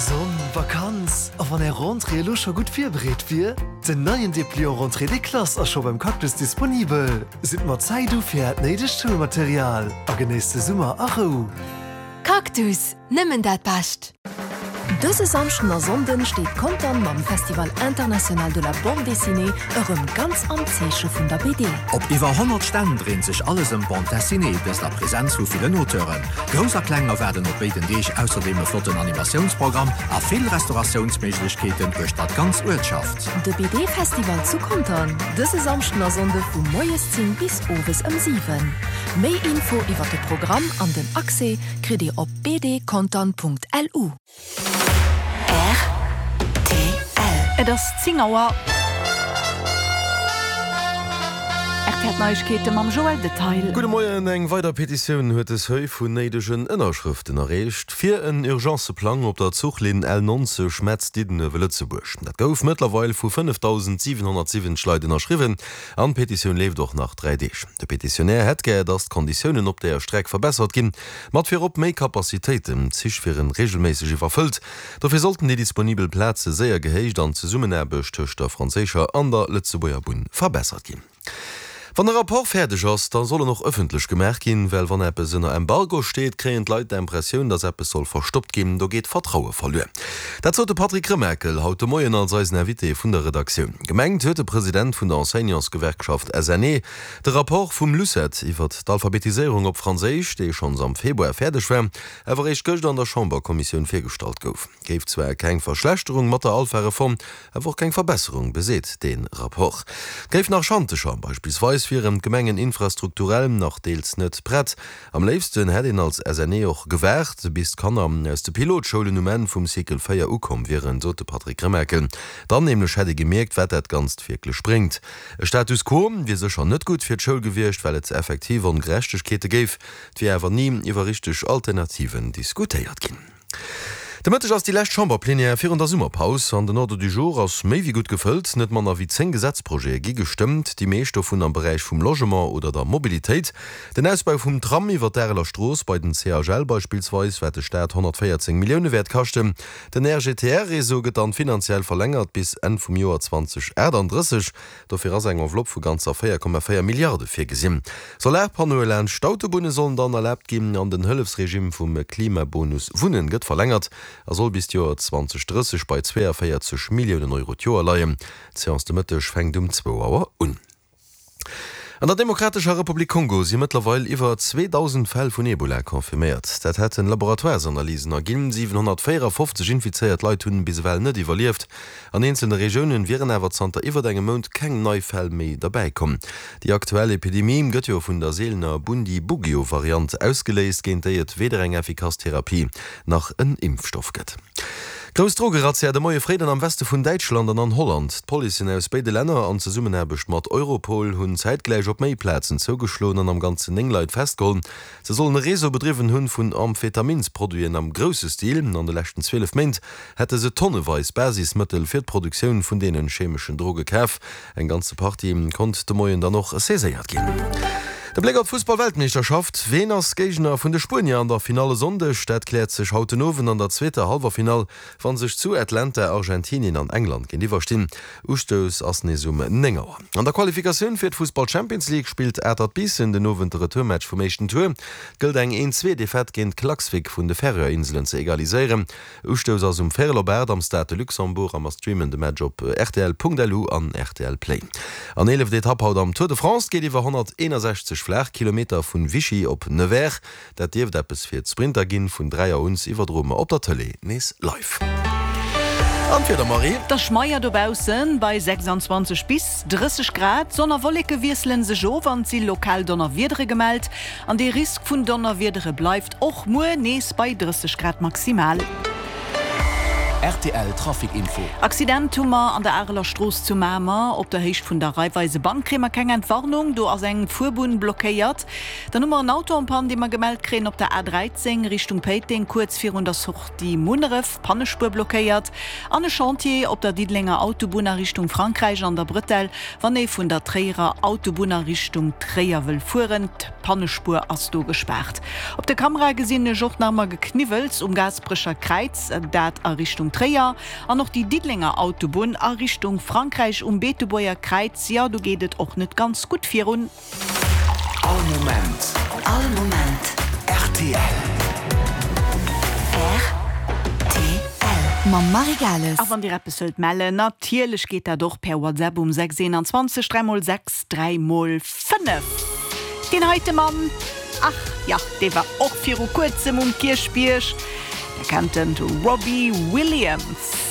Sonn, Vakanz, a wann är Rentrée elo scho gutt virbereet wier? Den neien Depliant Rentrée des classes ass scho beim Cactus disponibel. Sidd mat Zäit u fir äert néidegt Schoulmaterial a genéisst de Summer a Rou. Cactus, nëmmen dat Bescht! Dëse Samschden a Sonnden steet Contern mam Festival International de la Bande Dessinée erëm ganz am Zeeche vun der BD. Op iwwer 100 Stänn dréint sech alles ëm d'Bande Dessinée, dëst a Presenz vu villen Auteuren. Grouss a Kleng erwaarden op béiden Deeg ausserdeem e flotten Animatiounsprogramm a vill Restauratiounsméiglechkeeten uechter d'ganz Uertschaft. De BD-Festival zu Contern, dëse Samschden a Sonnde vu moies 10 bis owes ëm 7. Méi Info iwwer de Programm an den Accès kritt Dir op bdcontern.lu. Rtl. Et ass 10 Auer. Rtl Neiegkeete mam Joël Detail. Gudde Moien, Eng weider Petitioun huet de Seuil vun néidegen Ënnerschrëften erreecht fir en Urgencëplang op der Zuchlinn L 90 Metz-Diddenuewe-Lëtzebuerg. Dat gouf mëttlerweil vu 5.770 Leit ënnerschriwwen an d'Petitioun leeft och nach 3 Deeg. De Petitionär hätt gär, datt d'Konditiounen op där Streck verbessert ginn. Mat virop méi Capacitéiten, d'Zich wieren reegelméisseg iwwerfëllt, dofir sollten déi disponibel Plaze séier gehéicht an d'Zesummenaarbecht tëscht der franséischer an der Lëtzebuerger Bunn verbessert ginn. Wann e Rapport fäerdeg ass, da soll en och ëffentlech gemaach ginn, well wann eppes ënner Embargo steet, kréien d'Leit d'Impressioun, datt eppes soll verstoppt ginn, do geet Vertraue verluer. Dat sot de Patrick Remakel haut de Moien als eisen Invité vun der Redaktioun. Gemengt huet de President vun der Enseignantsgewerkschaft SNE, De Rapport vum LUCET iwwert d'Alphabetiséierung op Franséisch, dee schonns am Februar fäerdeg war, awer eréischt gëscht an der Chamberkommissioun virgestallt gouf, géif zwar keng Verschlechterung mat der Alpha-Reform, awer och keng Verbesserung, beseet dee Rapport. Et géif nach Schantecher, beispillsweis wieren d'Gemengen infrastrukturell nach deels net prett. Am léifsten hätt een als SNE och gewaart, bis d'Kanner aus de Pilotschoulen um Enn vum Cycle 4 ukomm wieren, sot de Patrick Remakel. Dann nämlech hätt ee gemierkt, wat dat Ganzt wierklech bréngt. E Status quo wier sécher net gutt fir d'Schoul gewiescht, well et effektiv Ongerechtegkeete géif. Et wier awer ni iwwer richteg Alternativen diskutéiert ginn. De Mëtteg ass déi lescht Chamberplenière virun der Summerpaus an den Ordre du jour ass méi wéi gutt gefëllt. Net manner wéi 10 Gesetzprojete gi gestëmmt, déi meescht dovun am Beräich vum Logement oder der Mobilitéit. Den Ausbau vum Tram iwwer d'Areler Strooss bei den CHL beispillsweis, wat de Staat 114 Millioune wäert kaschten. Den RGTR-Réseau gëtt dann finanziell verlängert bis Enn vum Joer 2038. Dofir ass eng Enveloppe vu ganzer 4,4 Milliarde virgesinn. Solarpannoe laanscht d'Autobunne sollen dann erlaabt ginn an den Hëllefsregime vum Klimabonus Wunnen gëtt verlängert a soll bis d'Joer 2030 bei 42 Milliounen Euro d'Joer leien. D'Seance de Mëtteg fänkt um zwou Auer un. An der Demokratescher Republik Kongo si mëttlerweil iwwer 2.000 Fäll vun Ebola confirméiert. Dat hätten Laboratoiresanalysen erginn. 754 infizéiert Leit hunn bis ewell net iwwerlieft. An eenzelne Regiounen wieren awer zanter iwwert engem Mount keng nei Fäll méi derbäi komm. Déi aktuell Epidemie gëtt jo vun der seelener Bundibugyo-Variant ausgeléist, géint déi et weder eng effikass Therapie nach en Impfstoff gëtt. Grouss Drogerazzia de Moie fréi dann am Weste vun Däitschland an an Holland. D'Policen aus béide Länner an Zesummenaarbecht mat Europol hunn zäitgläich op méi Plazen zougeschloen an am Ganzen 9 Leit festgeholl. Se sollen e Réseau bedriwwen hunn vun Amphetaminsproduiten am grousse Stil. An de leschten 12 Méint hätte se tonneweis Basismëttel fir d'Produktioun vun deene chemeschen Droge kaf. Eng ganze Partie konnt de Moien dann och saiséiert ginn. De Bléck op d'Fussball-Weltmeeschterschaft, Ween ass Géigner vun de Spuenier an der Finall e Sonndeg? Dat kläert sech haut den Owend an der zweeter Hallwerfinall, wa sech zu Atlanta Argentinien an England géintiwwer stinn. Ustouss ass nees um 9 Auer. An der Qualifikatioun fir d'Fussball-Champions League spillt Atert Biissen den Owend de Retourmatch vum éischten Tour. Et gëllt eng 1-Zwee-Defaite géint Klaksvik vun de Färöer-Inselen ze egaliséieren. Ustouss ass um Véierel op 8 am Stade de Luxembourg a mer streamen de Match op rtl.lu an rtl Play. An eeleft Etapp haut am Tour de France geet iwwer 161 flaach Kilometer vun Vichy op Nevers. Dat dierft eppes fir d'Sprinter ginn. Vun 3 Auer un iwwerdroe mer op der Tëlee nees live. An d'Wieder, Marie? Et ass schmeier dobaussen, bei 26 bis 30 Grad. Sonn a Wolleke wiessele sech of an et si lokal Donnerwiedere gemellt. An dee Risk vun Donnerwiedere bleift och muer nees bei 30 Grad maximal. Rtl Trafic Info. Accident hu mer an der Areler Strooss zu Mamer op der Héicht vun der Raiffeisebank. Kréie mer keng Entwarnung, do ass eng Fuerbunn blockéiert. Dann hu mer en Auto en panne, dee mer gemellt kréien op der A 13 Richtung Péiteng, kuerz virun der Sortie Munneref, Pannespuer blockéiert. An e Chantier op der Diddelenger Autobunn a Richtung Frankräich an der Brëtell, wann ee vun der Tréierer Autobunn a Richtung Tréier wëll fueren. D'Pannespuer ass do gespaart. Op de Kamerae gesinn ech och nach ëmmer Gekniwwels um Gaasperecher Kräiz, dat a Richtung Tréier. An och déi Diddelenger Autobunn a Richtung Frankräich um Beetebuerger Kräiz, jo do geet et och net ganz gutt virun. All Moment. All Moment. Rtl. Rtl. Mam Marie Gales. A wann Dir eppes wëllt mellen, natierlech geet dat och per WhatsApp um 6 21 3 mol 6 3 mol 5. Deen heite Mann, ach jo, dee war och viru kuerzem um Kierchbierg. Der kennt en, de Robbie Williams.